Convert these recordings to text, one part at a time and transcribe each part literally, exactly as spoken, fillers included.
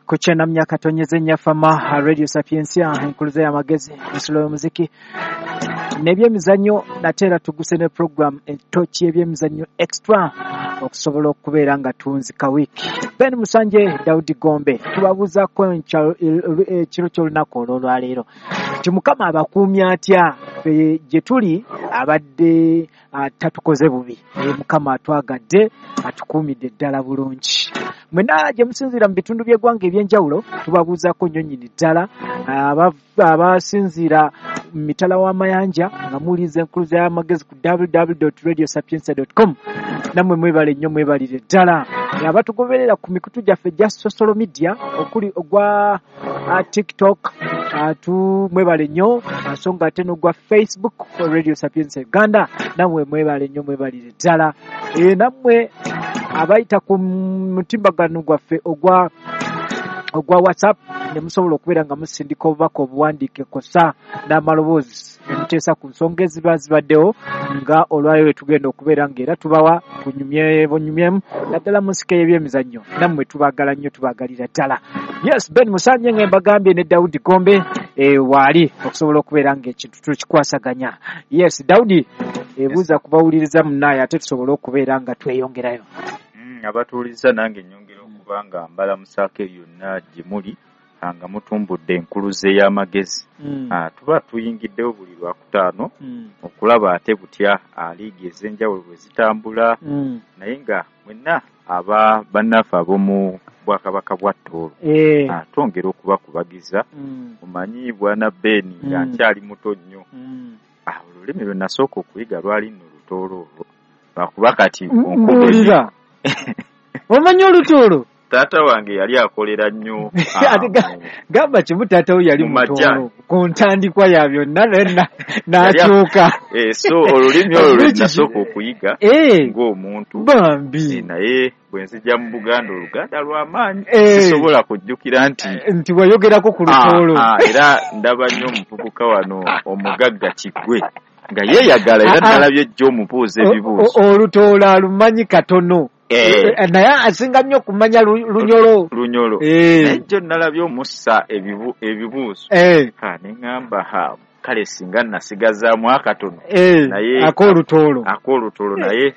Ku kyenda katonyeze Nyafama Radio Sapientia, enkuluze y'amagezi, ensulo y'omuziki n'ebyemizannyo. Nate era tuguse ne program entoki y'ebyemizannyo extra okusobola okubeera nga tunzika wiiki. Ben Musanje, Daudi Gombe, tubabuuzaako ekiro ky'olunaku olw'olwaleero nti Mukama abakuumye atya? Ffe gye tuli abadde tatukoze bubi, Mukama atwagadde, atukuumidde ddala bulungi. Mwenna gye musinziira mu bitundu by'eggwanga eby'enjawulo tubabuuzaako nnyo nnyini ddala, abasinziira mu mitala w'amayanja nga muwuliriza enkuluza y'amagezi ku w w w dot radio sapientia dot com, nammwe mwebale nnyo, mwebalire ddala. Abatugoberera ku mikutu gyaffe egya social media okuli ogwa TikTok, atu mwebale nnyo, so nga ate n'ogwa Facebook Radio Sapientia Uganda, nammwe mwebale nnyo, mwebalire ddala. Nammwe abayita ku mutimbagano gwaffe ogwa ogwa WhatsApp ne musobola okubeera nga musindika obubaka obuwandiike kosa n'amaloboozi ne muteesa ku nsonga eziba zibaddewo nga olwaleero tugenda okubeera ng'era tubawa kunyumye bunyumyemu naddala mu nsiko y'ebyemizannyo. Nammwe tubaagala nnyo, tubaagalira ddala. Yes, Ben Musanje nga mbagambye ne Daudi Gombe eh, waali okusobola okubeera ng'ekintu tukikwasaganya. Yes, Daudi, ebuuza kubawuliriza munnaye ate tusobole okubeera nga tweyongerayo. Abatuuliza nange nnyongera okuba nga mbalamusaako yonna gye muli nga mutumbudde enkuluze y'amagezi. Tuba tuyingiddewo buli lwakutaano okulaba ate butya liigi ez'enjawulo bwe zitambula, naye nga mwenna aba bannaffe ab'omu bwakabaka bwa Tooro twongera okubakubagiza. Omanyi bwana Ben nga nkyali muto nnyo, olulimi lwe nasooka okuyiga lwali nno Lutooro olwo, lwakuba kati onkubuulira. Omanyi Olutooro? Taata wange yali akolera nnyo. Gamba kimu, taata we yali Mutooro ku ntandikwa ya byonna n'akyuka. So olulimi olwo lwe nasooka okuyiga ng'omuntu bambi, naye bwe nzija mu Buganda Oluganda lw'amaanyi sisobola kujjukira nti nti wayogerako ku Lutooro. Era ndaba nnyo omuvubuka wano omugagga Kiggwe nga yeeyagala, era nalabye ejjo omubuuza ebibuuzo. Olutooro alumanyi katono, naye asinga nnyo okumanya Lunyolo. Lunyolo. Naye jjo nalabye omussa ebibuuzo, ne ŋŋamba ha kale singa nasigazaamu akatono, naye ak'Olutooro ak'Olutooro, naye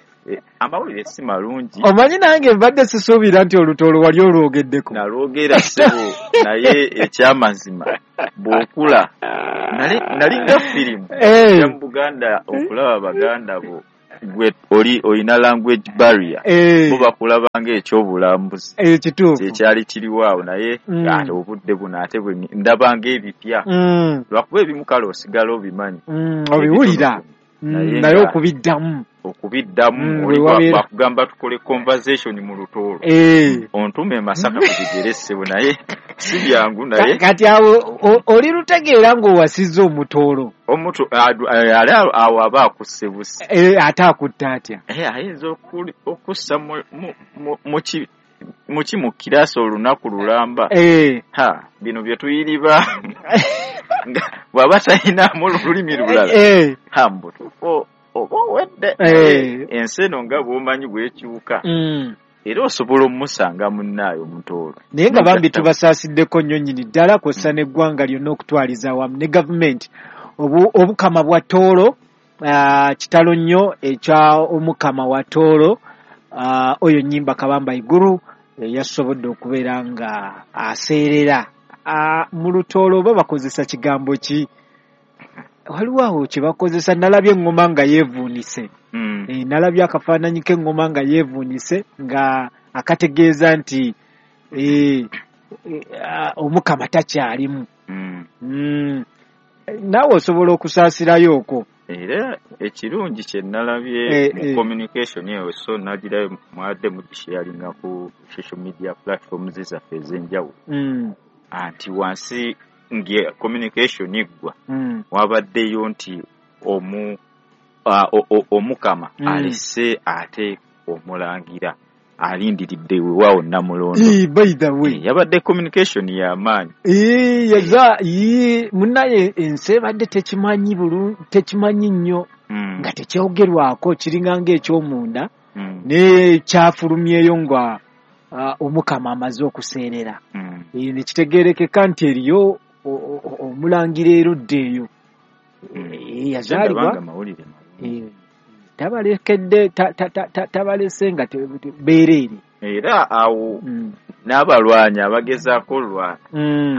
amawulire si malungi. Omanyi nange mbadde sisuubira nti Olutooro wali olwogeddeko. Nalwogera ssebo, naye ekyamazima bw'okula nalinga firimu ya mu Buganda okulaba Baganda bo gwe oli olina language barrier, bo bakulaba ng'ekyobulambuzi kyekyali kiriwo awo, naye ate obudde buno ate bwe ndaba ng'ebipya, lwakuba ebimu kale osigala obimanyi obiwulira, naye okubiddamu okubiddamu oli bakugamba tukole conversation mu Lutooro, ontume e Masaka ku bigere ssebo, naye si byangu. Naye kati awo oli lutegeera ng'owasizza Omutooro. Omuntu ali awo aba akusse busi, ate akutta atya? Ayinza okussa muki mu kirasi olunaku lulamba. Ha, bino bye tuyiriba bw'aba talinamu olulimi lulala, ha mbutuufu oba owedde. Ensi eno nga bw'omanyi bwekyuka, era osobola omusanga munnaayo Omutooro. Naye nga bambi tubasaasiddeko nnyo nnyini ddala kw'ossa n'eggwanga lyonna okutwaliza awamu ne gavumenti. Obukama bwa Tooro kitalo nnyo ekya Omukama wa Tooro oyo Nnyimba Kabamba Iguru yasobodde okubeera nga aseerera. Mu Lutooro oba bakozesa kigambo ki? Waliwo awo kye bakozesa, nalabye eŋŋoma nga yeevuunise. Nalabye akafaananyi k'eŋŋoma nga yeevuunise nga akategeeza nti Omukama takyalimu. Naawe osobola okusaasirayo okwo. Era ekirungi kye nalabye mu communication eyo, so nagirayo mwadde mugisharinga ku social media platforms zaffe ez'enjawulo, anti wansi nge communication eggwa wabaddeyo nti omu Omukama alese ate omulangira alindiridde weewaawo Namulondo. By the way, yabadde communication y'amaanyi. Yaza munnaye ensi ebadde tekimanyi bulungi, tekimanyi nnyo, nga tekyogerwako, kiringa ng'ekyomunda, ne kyafulumyeyo nga Omukama amaze okuseerera. Ne kitegeerekeka nti eriyo omulangira erudda eyo yazaalibwa tabalekedde tabalese nga beereere. Era awo n'abalwanyi abagezaako olwana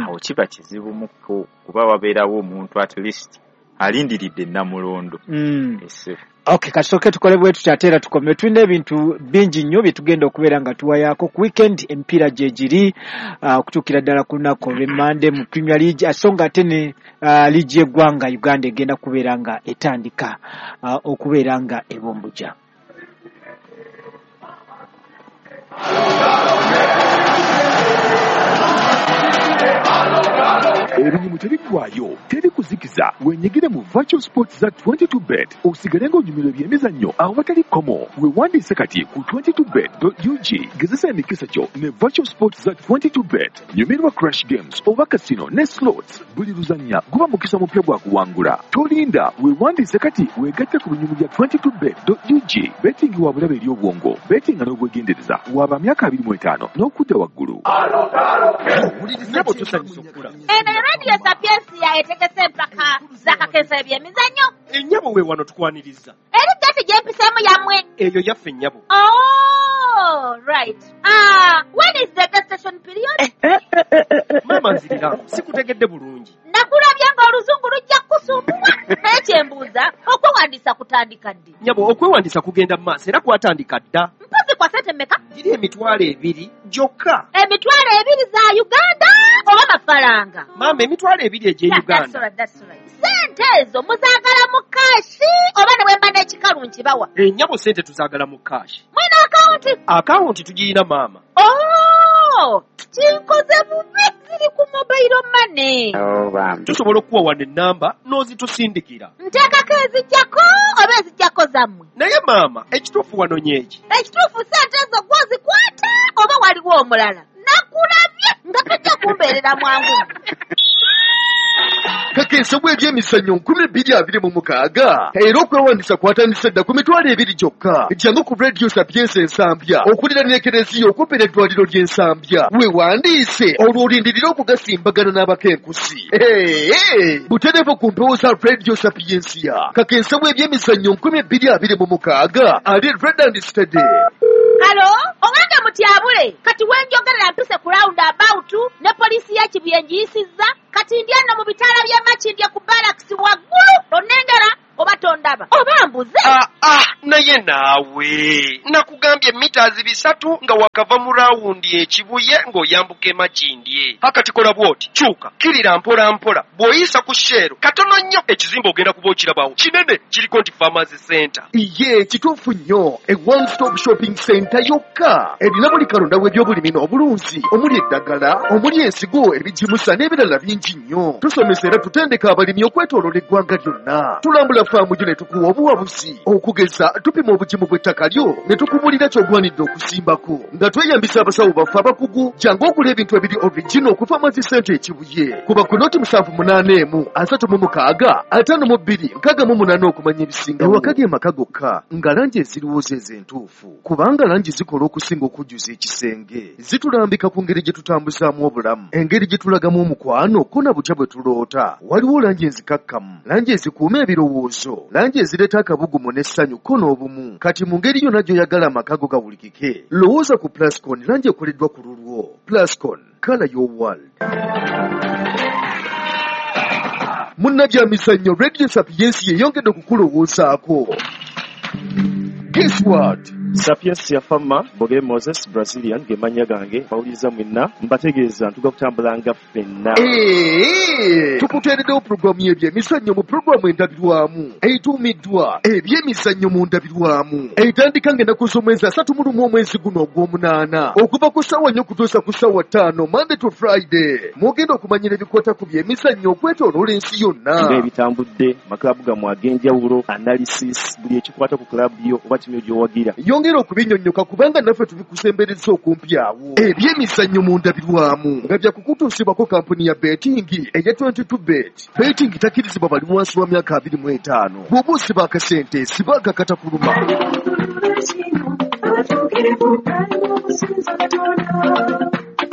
awo kiba kizibu muko kuba wabeerawo omuntu at least alindiridde Namulondo. Okay, kasooke tukole bwe tutyo ate era tukome. Tulina ebintu bingi nnyo bye tugenda okubeera nga tuwayaako ku weekend. Emipiira gye giri okutuukira ddala ku lunaku olw'Emmande mu Premier League, so nga ate ne liigi y'eggwanga Uganda egenda kubeera nga etandika okubeera nga ebombuja. Ebinyumu tebiggwayo, teri kuzikiza. Wenyigire mu Virtual Sports za twenty-two bet osigale ng'onyumirwa ebyemizannyo awatali kkomo. Weewandiise kati ku twenty-two bet dot U G. Gezesa emikisa gyo ne Virtual Sports za twenty-two bet. Nyumirwa Crash Games oba casino ne slots. Buli luzannya guba mukisa mupya gwa kuwangula. Tolinda, weewandiise kati weegatte ku binyumu bya twenty-two bet dot U G. Betting wa bulabe eri obwongo, betting n'obwegendereza. Waba myaka abiri mu etaano n'okudda waggulu. Radio Sapientia etegese empaka z'akakesa ebyemizannyo. Ennyabo we wano tukwaniriza. Eri gati gyempiseemu yammwe. Eyo yaffe nnyabo. Oh, right. Ah, when is the gestation period? Maama nzirira, sikutegedde bulungi. Nakulabye ng'oluzungu lujja kukusumbuwa. Naye kye mbuuza, okwewandiisa kutandika ddi? Nnyabo, okwewandiisa kugenda mu maaso era kwatandika dda. Mpozi kwa ssente mmeka? Giri emitwalo ebiri gyokka. Emitwalo ebiri za Uganda oba mafaranga? Maama, emitwalo ebiri egy'e Uganda. Ssente ezo muzaagala mu kaashi oba ne bwe mba n'ekikalu nkibawa? Ennyabo, ssente tuzaagala mu kaashi. Mwina akawunti? Akawunti tugirina maama. Oh, kinkoze bubi, ziri ku mobile money. Tusobola okuwa wano ennamba n'ozitusindikira. Nteekako ezijjako oba ezijjako zammwe? Naye maama, ekituufu wanonye eki? Ekituufu ssente ezo gw'ozikwata oba waliwo omulala? Nakulabye nga tojja kumbeerera mwangu. Kakesa bw'ebyemizannyo nkumi bbiri abiri mu mukaaga era okwewandiisa kwatandise dda ku mitwalo ebiri gyokka. Jangu ku Radio Sapientia Ensambya okuliraana Ekereziya okumpi n'eddwaliro ly'Ensambya. Weewandiise olwo olindirire okugasimbagana n'abakenkusi. Butereevu ku mpewo za Radio Sapientia. Kakesa bw'ebyemizannyo nkumi bbiri abiri mu mukaaga ali Red and Steady. Halo, owange mutyabule, kati wenjogerera mpise ku round about ne poliisi ya Kibuye ngiyisizza, kati ndi eno mu bitaala by'e Makindye ku barracks waggulu, onnengera oba tondaba oba mbuze. Ah, ah, naye naawe nakugambye mitazi bisatu nga wakava mu rawundi ekibuye ng'oyambuka e Makindye. Akati kola bw'oti, kyuka kirira mpola mpola, bw'oyisa ku Shell katono nnyo ekizimbe ogenda kuba okirabawo kinene kiriko nti Farmers Center. Iye kituufu nnyo, e one stop shopping center yokka erina buli kalonda w'ebyobulimi n'obulunzi omuli eddagala, omuli ensigo, ebigimusa n'ebirala bingi nnyo. Tusomesa era tutendeka abalimi okwetooloola eggwanga lyonna. Tulambula faamu gyo ne tukuwa obuwabuzi. Okugeza tupima obugimu bw'ettaka lyo ne tukubulira ky'ogwanidde okusimbako nga tweyambisa abasawo baffe abakugu. Jangu ogula ebintu ebiri original ku Farmers Center Ekibuye. Kuba ku noti musanvu munaana emu asatu mu mukaaga ataano mu bbiri nkaaga mu munaana okumanya ebisingawo. Ewaka ge maka gokka nga langi eziriwo ze entuufu, kubanga langi zikola okusinga okujjuza ekisenge. Zitulambika ku ngeri gye tutambuzaamu obulamu, engeri gye tulagamu omukwano ko na butya bwe tuloota. Waliwo langi enzikakkamu, langi ezikuuma ebirowoozo, langi ezireeta akabugumu n'essanyu ko n'obumu. Kati mu ngeri yonna gy'oyagala amaka go gawulikike, lowooza ku Plascon, langi ekoleddwa ku lulwo. Plascon, color your world. Munnabyamizannyo, Radio Sapientia yeyongedde okukulowoozaako. Guess what? Sapientia Fama, Bogere Moses, Brazilian, ge mannya gange, bawuliriza mwenna, mbategeeza ntuga kutambulanga ffenna. Tukuteereddewo pulogulaamu y'ebyemizannyo mu pulogulaamu endabirwamu etuumiddwa ebyemizannyo mu ndabirwamu, etandika ng'ennaku z'omwezi asatu mu lumu omwezi guno ogw'omunaana okuva ku ssaawa nnya okutuusa ku ssaawa ttaano Monday to Friday. Mugenda okumanyira ebikwata ku byemizannyo okwetooloola ensi yonna, ng'ebitambudde, makilaabu gammwe ag'enjawulo, analysis, buli ekikwata ku kilaabu yo oba ttiimu gy'owagira. Yongera okubinyonnyoka kubanga naffe tubikusembereza okumpi awo. Ebyemizannyo mu ndabirwamu nga bya kukutuusibwako kampuni ya betting eya twenty-two bet. Betting takkirizibwa bali wansi wa myaka abiri mu etaano. Bw'oba osiba akasente siba akakatakuluma.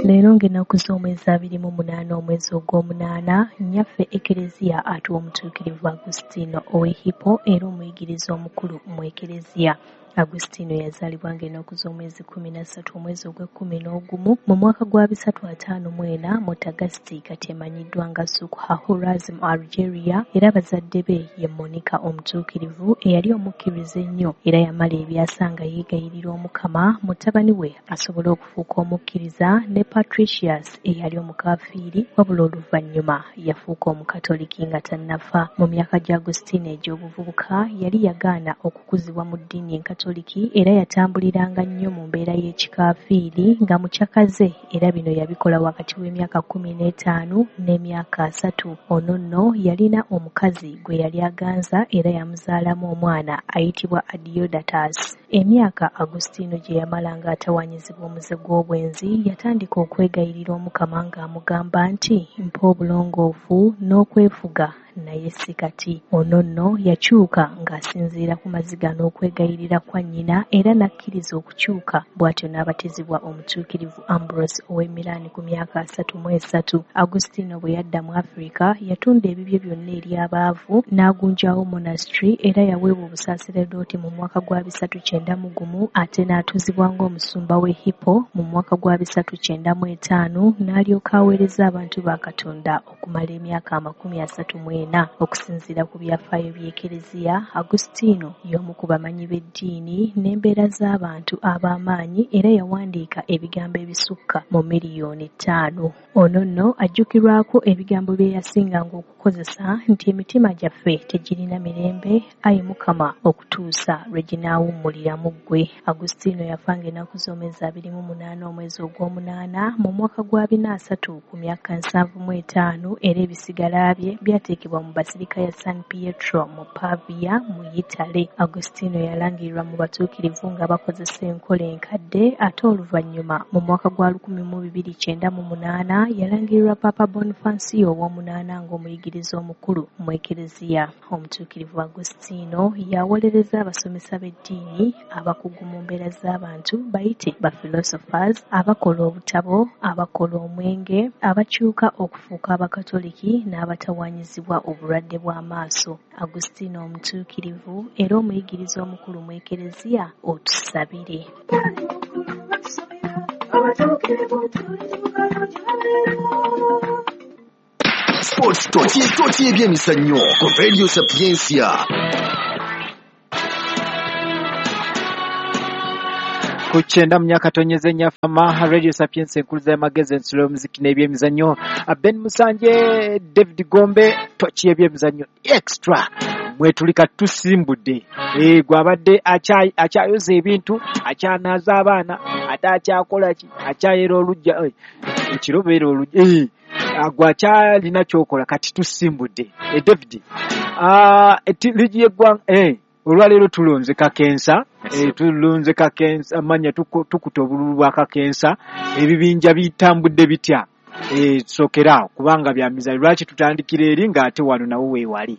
Leero ng'ennaku z'omwezi abiri mu munaana omwezi ogw'omunaana, nnyaffe Ekereziya atuwa omutuukirivu Agustino ow'e Hippo era omuyigiriza omukulu mu Ekereziya. Agustino yazaalibwa ng'ennaku z'omwezi kkumi na ssatu omwezi ogw'ekkumi n'ogumu mu mwaka gwa bisatu ataano mu ena mu Tagasti, kati emanyiddwa nga Souk Ahras mu Algeria, era bazadde be ye Monica omutuukirivu eyali omukkiriza ennyo era yamala ebyasa nga yeegayirira Omukama mutabani we asobole okufuuka omukkiriza, ne Patricius eyali omukafiiri wabula oluvannyuma yafuuka omukatoliki nga tannafa. Mu myaka gya Agustino egy'obuvubuka yali yagaana okukuzibwa mu ddiini enkatoliki era yatambuliranga nnyo mu mbeera y'ekikafiiri nga mukyakaze, era bino yabikola wakati w'emyaka kkumi n'etaano n'emyaka asatu. Ono nno yalina omukazi gwe yali aganza era yamuzaalamu omwana ayitibwa Adeodatus. Emyaka Agustino gye yamala ng'atawaanyizibwa omuze gw'obwenzi, yatandika okwegayirira Omukama ng'amugamba nti, mpa obulongoofu n'okwefuga naye si kati. Ono nno yakyuka ng'asinziira ku maziga n'okwegayirira kwa nnyina era n'akkiriza okukyuka, bw'atyo n'abatizibwa omutuukirivu Ambrose ow'e Milan ku myaka asatu mu esatu. Agustino bwe yadda mu Afrika yatunda ebibye byonna eri abaavu n'agunjawo monastery era yaweebwa obusaaseredooti mu mwaka gwa bisatu kyenda mu gumu ate n'atuuzibwa ng'omusumba w'e Hippo mu mwaka gwa bisatu kyenda mu etaano n'alyoka aweereza abantu ba Katonda okumala emyaka amakumi asatu mu ena. Okusinziira ku byafaayo by'Ekereziya, Agustino y'omu ku bamanyi b'eddiini n'embeera z'abantu ab'amaanyi era yawandiika ebigambo ebisukka mu miliyoni ttaano. Ono nno ajjukirwako ebigambo bye yasinganga okukozesa nti emitima gyaffe tegirina mirembe, ayi Mukama, okutuusa lwe ginaawummulira mu ggwe. Agustino yafa ng'ennaku z'omwezi abiri mu munaana omwezi ogw'omunaana mu mwaka gwa bina asatu ku myaka nsanvu mu etaano era ebisigala bye byateekebwa mu Basilica ya San Pietro mu Pavia mu Yitale. Agustino yalangirirwa mu batuukirivu nga bakozesa enkola enkadde ate oluvannyuma mu mwaka gwa lukumi mu bibiri kyenda mu munaana yalangirirwa Papa Bonifacio ow'omunaana ng'omuyigiriza omukulu mu Ekereziya. Omutuukirivu Agustino yawolereza abasomesa b'eddiini, abakugu mu mbeera z'abantu bayite ba philosophers, abakola obutabo, abakola omwenge, abakyuka okufuuka abakatoliki n'abatawaanyizibwa obulwadde bw'amaaso. Agustino omutuukirivu era omuyigiriza omukulu mu Ekereziya, otusabire. Sports Tochi Tochi ebyemizannyo ku Radio Sapientia. Ku kyenda mu myaka tonyeze nnyafama Radio Sapientia enkuluza y'amagezi ensulo y'omuziki n'ebyemizannyo. Ben Musanje, David Gombe, Tochi ebyemizannyo extra mwetulika tusimbudde. Eh, gwabadde akyayoza ebintu, akyanaaza abaana, ate akyakola ki, akyayera olujja, ekiro beera olujja, eh, gwe akyalina ky'okola kati tusimbudde. Eh, David, ah, ligi y'eggwanga, eh, olwaleero tulonze kakensa, eh, tulonze kakensa, amanya tukuta obululu bwa kakensa, ebibinja bitambudde bitya? Eh, tusookera kubanga bya mizannyo, lwaki tutandikira eri ng'ate wano nawo weewali?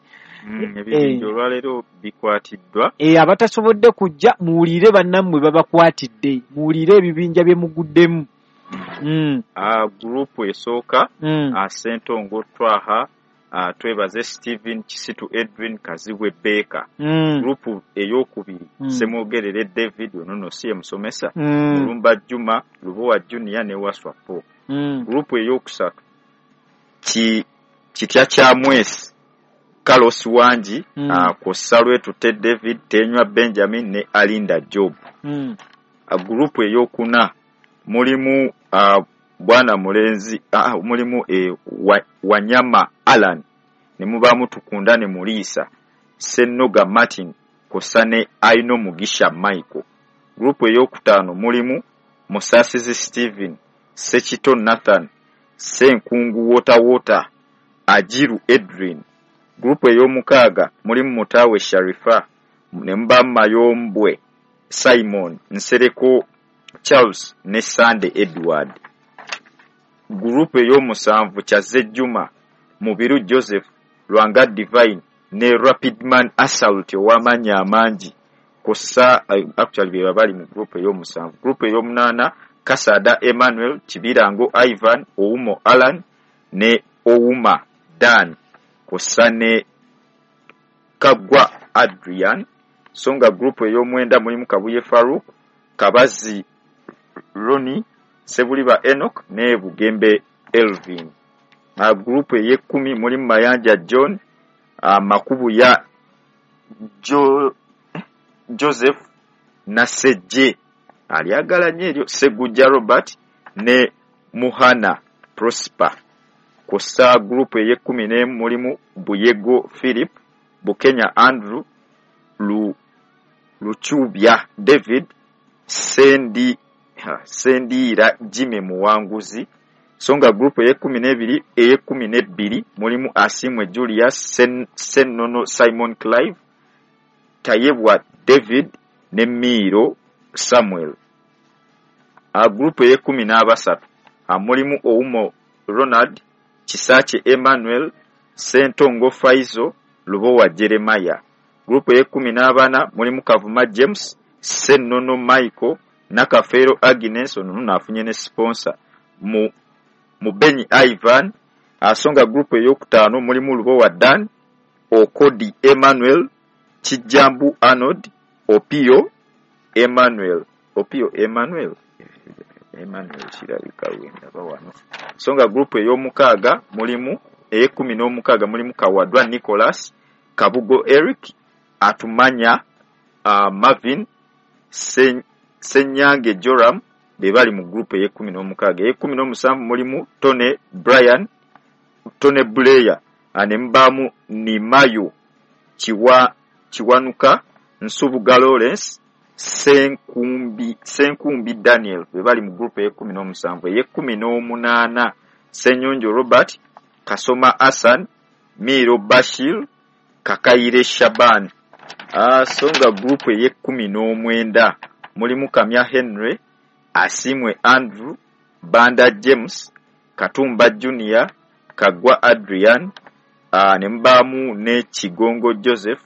Ebibinja olwaleero bikwatiddwa. Eh, abatasobodde kujja muwulire bannammwe babakwatidde, muwulire ebibinja bye muguddemu. Mm. Ah, gurupu esooka, mm. Ssentongo Twaha, uh, twebaze Stephen Kisitu Edwin Kazibwe Baker. Mm. Gurupu ey'okubiri, mm. Ssemwogerere David, ono nno si ye musomesa, mm. Mulumba Juma, Lubowa Junior ne Waswa Paul. Mm. Gurupu ey'okusatu, ki Kitya kya Mwesi, Carlos Wangi, mm. uh, kw'ossa Lwetute David, Tenywa Benjamin ne Alinda Job. Mm. Uh, gurupu ey'okuna mulimu uh, bwana mulenzi uh, mulimu eh, wa, Wanyama Alan ne mubaamu Tukunda ne Muriisa, Ssennoga Martin kw'ossa ne Aino Mugisha Michael. Gurupu ey'okutaano mulimu Musasizi Stephen, Ssekito Nathan, Ssenkungu Water Water, Ajiru Edwin. Gurupu ey'omukaaga mulimu Mutaawe Sharifa ne mubaamu Mayombwe Simon, Nsereko Charles ne Sande Edward. Gurupu ey'omusanvu Kyazze Juma, Mubiru Joseph, Lwanga Divine ne Rapidman Assault ow'amaanyi amangi kw'ossa, actually be bali mu gurupu ey'omusanvu. Gurupu ey'omunaana Kasada Emmanuel, Kibirango Ivan, Oumo Alan ne Ouma Dan kw'ossa ne Kagwa Adrian. So nga gurupu ey'omwenda mulimu Kabuye Farouk, Kabazi Roni, Sebuliba Enoch ne Bugembe Elvin. Gurupu ey'ekkumi mulimu Mayanja John, uh, Makubuya jo, Joseph Nasejje alyagala nnyo eryo, Segujja Robert ne Muhana Prosper. Kw'ossa gurupu ey'ekkumi n'emu mulimu Buyego Philip, Bukenya Andrew, Lu, Luchubya David, Sendi, ha, Sendiira Jimmy Muwanguzi. So nga gurupu ey'ekkumi n'ebiri ey'ekkumi n'ebbiri mulimu Asimwe Julius, Sen, Sennono Simon Clive, Tayebwa David ne Miiro Samuel. A gurupu ey'ekkumi n'abasatu mulimu Oumo Ronald, Kisaakye Emmanuel, Sentongo Faizo, Lubowa Jeremiah. Gurupu ey'ekkumi n'abana mulimu Kavuma James, Sennono Michael, Nakafeero Agnes, ono nno afunye ne sponsor, mu Mubenyi Ivan. Asonga gurupu ey'okutaano mulimu Lubowa Dan, Okodi Emmanuel, Kijjambu Arnold, Opio Emmanuel. Opio Emmanuel Emmanuel kirabika wendaba wano. So nga gurupu ey'omukaaga mulimu ey'ekkumi n'omukaaga mulimu Kawadwa Nicholas, Kabugo Eric, Atumanya uh, Marvin, Sen, Senyange Joram be bali mu gurupu ey'ekkumi n'omukaaga. Ey'ekkumi n'omusanvu mulimu Tony Brian, Tony Blair, ne mubaamu Nimayo Kiwa, Kiwanuka, Nsubuga Lawrence, Senkumbi, Senkumbi Daniel be bali mu gurupu ey'ekkumi n'omusanvu. Ey'ekkumi n'omunaana Senyonjo Robert, Kasoma Hassan, Miro Bashir, Kakaire Shaban. Ah, so nga gurupu ey'ekkumi n'omwenda mulimu Kamya Henry, Asimwe Andrew, Banda James, Katumba Junior, Kagwa Adrian, uh, ne mubaamu ne Kigongo Joseph,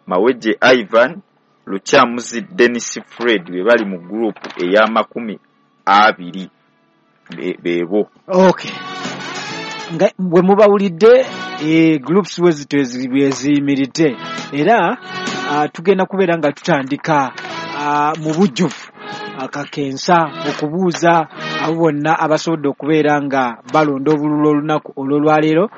Maweje Ivan, Lukyamuzi Dennis Fred be bali mu gurupu ey'amakumi abiri beebo. Okay. Nga bwe mubawulidde e, groups we zito eziyimiridde era uh, tugenda kubeera nga tutandika uh, mu bujjuvu akakensa okubuuza abo bonna abasobodde okubeera nga balonda obululu olunaku olw'olwaleero,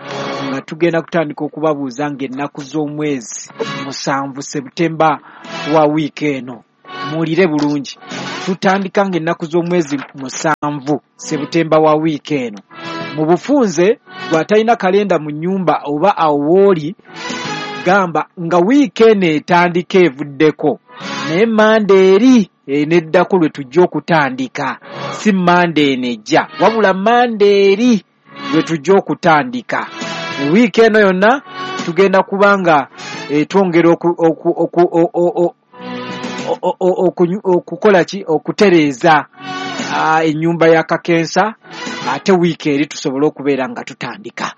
nga tugenda kutandika okubabuuza ng'ennaku z'omwezi musanvu Sebutemba wa wiiki eno. Muwulire bulungi, tutandika ng'ennaku z'omwezi musanvu Sebutemba wa wiiki eno. Mu bufunze bw'atalina kalenda mu nnyumba oba awo w'oli, gamba nga wiiki eno etandika evuddeko, naye Mande eri eneddako lwe tujja okutandika, si Mande eno ejja, wabula Mande eri lwe tujja okutandika. Wiiki eno yonna tugenda kubanga twongera okukola ki, okutereeza ennyumba ya Kakensa, ate wiiki eri tusobole okubeera nga tutandika.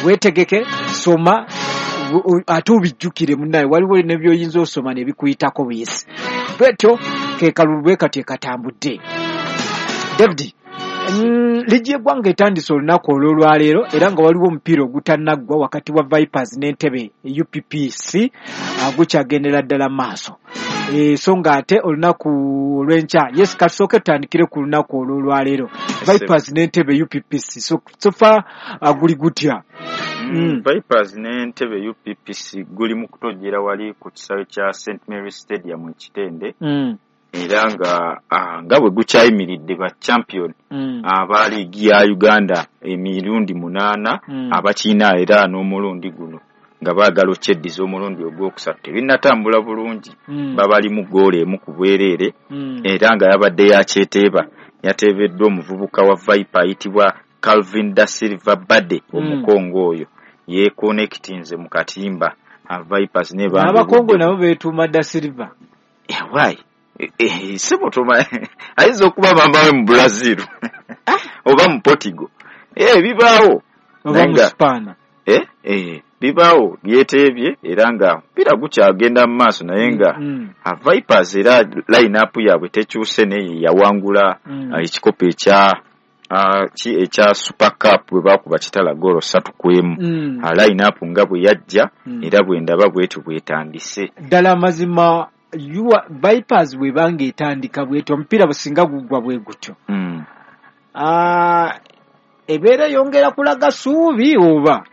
Weetegeke, soma ate obijjukire munnaye, waliwo ne by'oyinza osoma ne bikuyitako buyisi. Bwetyo ke kalulu bwe kati katambudde. David, mm, ligi y'eggwanga etandise olunaku olw'olwaleero era nga waliwo omupiira ogutannaggwa wakati wa Vipers n'Entebbe U P P C gukyagendera ddala maaso. E, so nga ate olunaku olw'enkya, yes, katusooke tutandikire ku lunaku olw'olwaleero. Vipers n'Entebbe U P P C, so, so far guli gutya? Mm. Vipers n'Entebbe U P P C guli mu kutojjera wali ku kisaawe kya Saint Mary Stadium e Kitende. Mm. Era nga ah, nga bwe gukyayimiridde ba champion mm. aba liigi ya Uganda emirundi munaana mm. abakiina era n'omulundi guno nga baagala okyeddiza omulundi ogwokusatu tebinnatambula bulungi mm. babali mu ggoolo emu ku bwereere mm. era nga yabadde yakyeteeba yateebeddwa omuvubuka wa Viper ayitibwa Calvin da Silva Bade omukongo oyo yeekonekitinze mu katimba Vipers ne Abakongo nabo beetuuma da Silva. Yeah, why? Sibotoma ayinza okuba bambawe mu Brazil oba mu Portugal eh bibaawo oba mu Spain eh eh bibaawo byeteebye era nga omupiira gukyagenda mu maaso naye nga Mm. Vipers era line-up yaabwe tekyuse naye yawangula Mm. ekikopo ekya ki ekya Super Cup bwe baakuba Kitala goolo ssatu ku emu. Mm. Line-up nga bwe yajja Mm. era bwe ndaba bwetyo bwetandise. Ddala amazima Vipers bw'ebanga etandika bwetyo omupiira businga guggwa bwe gutyo. Mm. Ah, ebeera eyongera kulaga ssuubi oba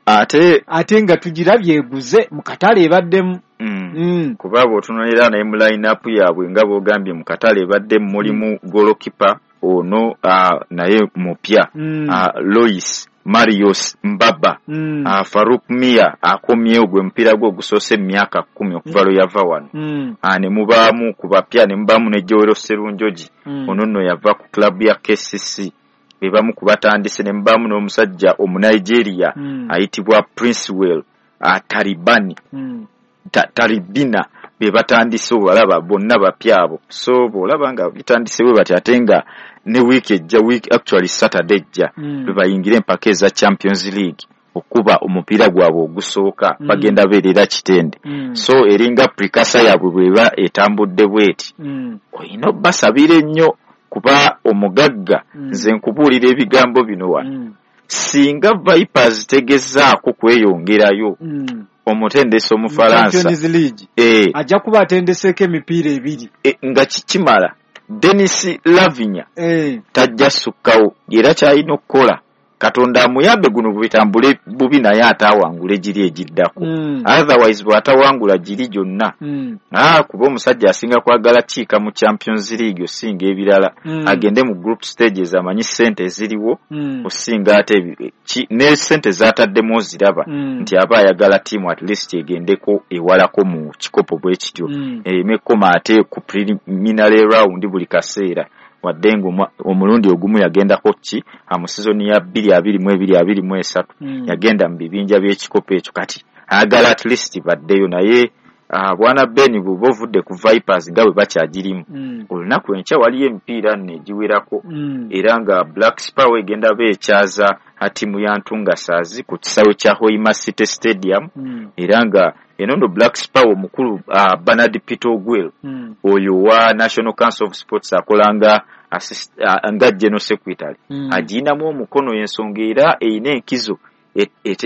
ate ate nga tugirabye eguze mu katale ebaddemu. Mm. Mm. Kuba bw'otunuulira naye mu line-up yaabwe nga bw'ogambye mu katale ebaddemu mulimu goalkeeper ono uh, naye mupya Mm. uh, Lois Marius Mbaba Mm. uh, Farouk Mia akomyewo gwe mupiira gwe ogusoose mu myaka kkumi okuva lwe yava wano. Mm. Uh, ne mubaamu ku bapya ne mubaamu ne Joel Serunjogi Mm. ono nno yava ku club ya K C C be bamu ku batandise ne mubaamu n'omusajja Omunigeria Mm. ayitibwa Princewell uh, Taribani Mm. ta, Taribina be batandise obalaba bonna bapya abo. So bw'olaba nga bitandise bwe bati ate nga ne wiiki ejja week actually Saturday ejja Mm. lwe bayingira empaka eza Champions League okuba omupiira gwabwe ogusooka Mm. bagenda beerera Kitende. Mm. So eringa precursor yaabwe bw'eba etambudde bw'eti Mm. olina obbasabira ennyo kuba omugagga Mm. nze nkubuulira ebigambo bino wano. Mm. Singa Vipers tegezaako kweyongerayo Mm. omutendesi Omufalansa Champions League eh, ajja kuba atendeseeko emipiira ebiri e, nga kikimala Dennis Lavinya eh. tajja sukkawo era ky'alina okukola Katonda amuyambe guno bitambule bubi naye ataawangule giri egiddako. Mm. Otherwise bw'atawangula giri gyonna Mm. ah, kuba omusajja asinga kwagala kiika mu Champions League osinga ebirala Mm. agende mu group stages amanyi ssente eziriwo Mm. osinga ate ne ssente z'ataddemu oziraba Mm. nti aba ayagala ttiimu at least egendeko ewalako mu kikopo bwe kityo Mm. ereme kkoma ate ku preliminary round buli kaseera wadde nga omulundi ogumu yagendako ki mu sizoni ya bbiri abiri mu ebiri abiri mu esatu Mm. yagenda mu bibinja by'ekikopo ekyo kati ayagala at least baddeyo naye uh, bwana Ben bw'oba ovudde ku Vipers nga bwe bakyagirimu Mm. olunaku enkya waliyo emipiira nno egiwerako Mm. era nga Black Power egenda beekyaza ttiimu ya Ntungasaazi ku kisaawe kya Hoima City Stadium Mm. era nga eno nno Black Power omukulu uh, Bernard Peter Ogwel Mm. oyo wa National Council of Sports akola nga assist, uh, nga General Secretary Mm. agiyinamu omukono ensonga era erina enkizo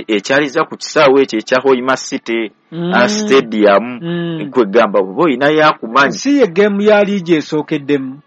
ekyaliza ku kisaawe ekyo ekya Hoima City Mm. uh, Stadium Mm. kwegamba bw'oba olinayo akumanyi si ye geemu ya liigi esookeddemu.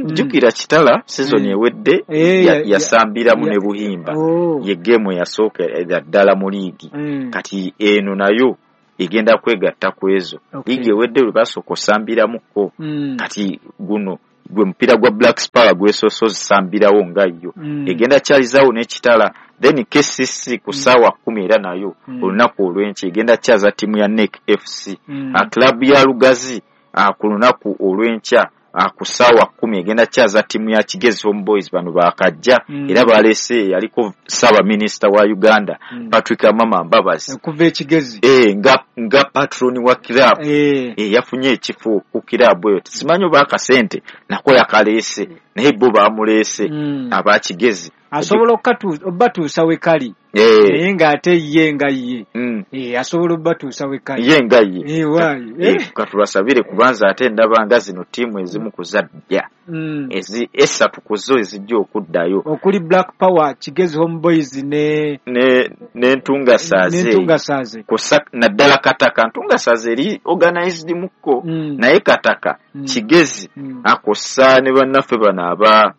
Jjukira mm. Kitala season Mm. ewedde Eh, ya- ya- yasambiramu ya- ne Buhimba Oh. ye geemu eyasooka ddala mu liigi Mm. kati eno nayo egenda kwegatta ku ezo. Okay. Liigi ewedde lwe basooka osambiramuko Mm. kati guno gwe mupiira gwa Black Power gwesoose ozisambirawo nga yo Mm. egenda kyalizaawo n'Ekitala then K C C ku ssaawa kkumi era nayo Mm. olunaku olw'enkya egenda kyaza ttiimu ya N E C F C Mm. uh, club ya Lugazi uh, ku lunaku olw'enkya uh, ku ssaawa kkumi egenda kyaza ttiimu ya Kigezi Home Boys bano baakajja Mm. era baleese yaliko ssaabaminisita wa Uganda Mm. Patrick Amama Mbabazi okuva Ekigezi eh, nga, nga patron wa club eh. eh, yafunye ekifo ku club eyo simanyi oba akasente nako yakaleese naye bo baamuleese Mm. aba Kigezi asobola okubatuusa we kali eh. naye ng'ate ye nga ye mm. eh, asobola okubatuusa we kali ye nga ye eh, waayi eh, katubasabire kubanza ate ndaba nga zino ttiimu ezimu ku zadda mm. ezi esatu ku zo ezijja okuddayo okuli Black Power, Kigezi Home Boys ne ne n'Entungasaazi n'Entungasaazi kusa naddala Kataka. Ntungasaazi eri organized mukko mm. naye Kataka Mm. Kigezi mm. akosa ne bannaffe bano aba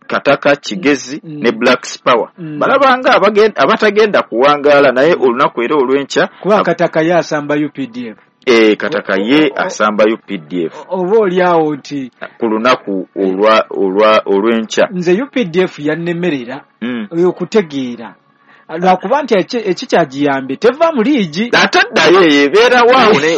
Kataka Kigezi Mm. ne Black Power Mm. balabanga abatagenda kuwangaala naye olunaku era olw'enkya kuba Kataka ye asamba U P D F eh, Kataka ye asamba U P D F oba oli awo nti ku lunaku olwa olwa olw'enkya nze U P D F yannemerera mm. okutegeera lwakuba nti ekikyagiyambye teva mu liigi ate ddayo eyo ebeera waawo ne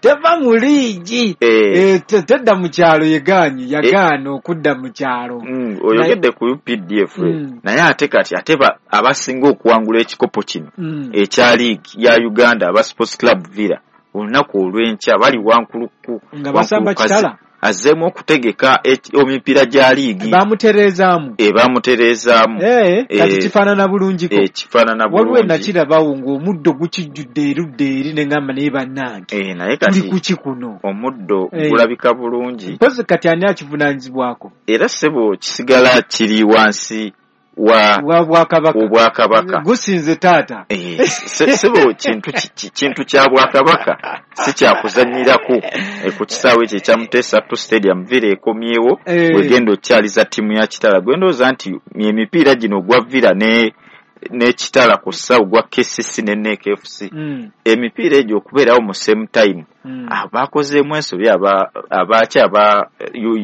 teva mu liigi Eh. Eh, tedda mu kyalo yegaanyi yagaana okudda mu kyalo Mm, oyogedde ku U P D F Mm. naye ate kati ate abasinga okuwangula ekikopo kino Mm. ekya liigi ya Uganda aba Sports Club Villa olunaku olw'enkya bali Wankuluku nga basamba Kitala Azzeemu okutegeka emipiira gya liigi. Bamutereezaamu. E, bamutereezaamu. Eh, kati kifaanana bulungiko. E, kifaanana bulungi. Waliwo nakirabawo ng'omuddo gukijjudde erudda eri ne ngamba naye bannange. E, naye kati tuli kuki kuno? Omuddo gulabika bulungi. Mpozi kati ani akivunaanyizibwako? Era ssebo kisigala kiri wansi wa wa bwakabaka. Obwakabaka. Gusinze taata. Eh, ssebo kintu kintu kya bwakabaka si kya kuzannyirako e, ku kisaawe ekyo ekya Muteesa two Stadium. Villa ekomyewo Eh. wegenda okyaliza ttiimu ya Kitala. Gwe ndowooza nti emipiira gino ogwa Villa ne ne Kitala ku ssaawa ogwa K C C ne N E C F C Mm. emipiira egyo okubeerawo mu same time Mm. abakozeemu ensobi aba abaaki aba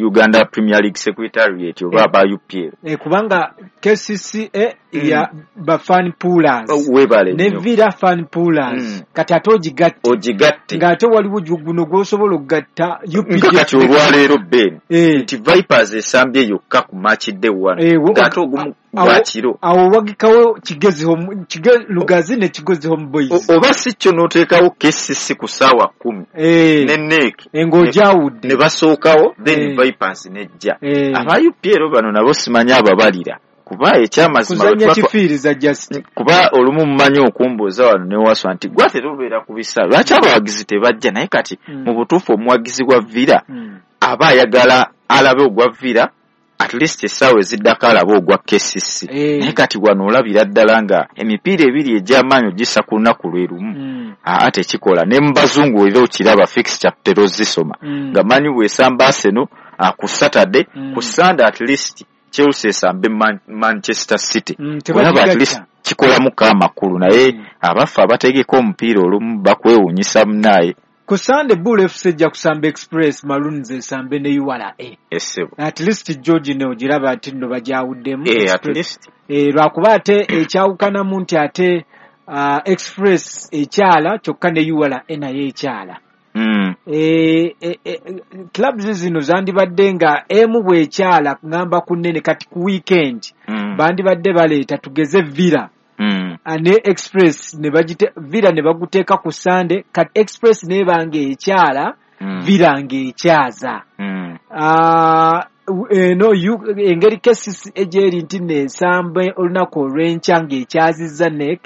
Uganda Premier League Secretariat oba Eh. aba U P L. Eh, kubanga K C C A Mm. ya ba fan poolers. Weebale Ne nnyo. Villa fan poolers. Mm. Kati ate ogigatte. Ogigatte. Ng'ate waliwo guno gw'osobola okugatta U P D F. Nga kati olwaleero Ben Eh. nti Vipers esambye yokka ku match day one. Eh, wo- Ng'ate ogumu awo- gwa kiro. Awo wagikawo Kigezi Home, Kige-, Lugazi ne Kigezi Home Boys. O-, oba si kyo n'oteekawo K C C ku ssaawa kkumi. Eh. Ne N E C. Eh, ng'ogyawudde. Ne basookawo, then Eh. Vipers n'ejja. Eh. Aba U P L bano nabo simanyi ababalira. Kuba ekyamazima Kuzannya bwe tuba twa- kifiiriza just. Kuba olumu mumanyi okumbuuza wano ne waswa nti gwe ate obeera ku bisaawe lwaki abawagizi tebajja, naye kati Mm. mu butuufu omuwagizi wa Villa Mm. aba ayagala alabe ogwa Villa at least essaawa eziddako alabe ogwa K C C. Eh. Naye kati wano olabira ddala nga emipiira ebiri egy'amaanyi ogissa ku lunaku lwe lumu. Mm. Aa tekikola. Ne mu bazungu era okiraba fixture tutera ozisoma. Mm. Nga manyi bw'esamba Arsenal, ah, ku Saturday, Mm. ku Sunday at least Chelsea esambe Man-, Manchester City. Mm, Olaba at tebagigatta. least kikolamuko amakulu, naye Mm. abaffe abategeka omupiira olumu bakwewuunyisa munaaye. Ku Sunday Bull F C ejja kusamba Express, Maroons esambe ne U R A. Essebo. At least George ne ogiraba nti nno bagyawuddemu. Eh, at Express. least. Eh, lwakuba ate ekyawukanamu nti ate, ah, Express ekyala kyokka ne U R A nayo ekyala. Mm. Eh, eh, eh, clubs zino zandibadde nga emu bw'ekyala ngamba ku nnene kati ku weekend Mm. bandibadde baleeta tugeze Villa. Mm. Ne Express ne bagite Villa ne baguteeka ku Sunday, kati Express n'ebanga ekyala, Mm. Villa ng'ekyaza. Mm. Ah, eno U-, engeri K C C egyeri nti n'ensambe olunaku olw'enkya ng'ekyazizza N E C,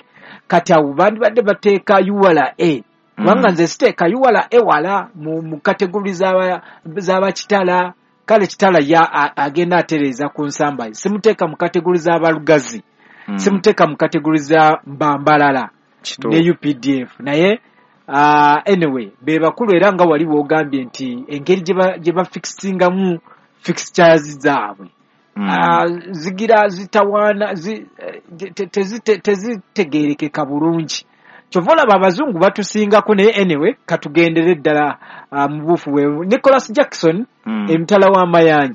kati awo bandibadde bateeka U R A. Kubanga Mm. nze siteeka U R A wala mu, mu kategori z'aba, z'abakitala, kale Kitala ya, a, agenda atereeza ku nsamba. Simuteeka mu kategori z'abalugazi. Mm. Simuteeka mu kategori za Mbambalala Kituufu. ne U P D F. Naye, uh, anyway, be bakulu era nga wali w'ogambye nti engeri gye ba-, gye bafixingamu fixtures zaabwe. Mm. Ah, zigira zitawaana, zi-, te-, te-, tezite-, tezitegeerekeka bulungi. Kyova olaba abazungu batusingako, naye anyway, katugendere ddala, ah, mu buufu bwe. Nicholas Jackson, Mm. emitala w'amayanja.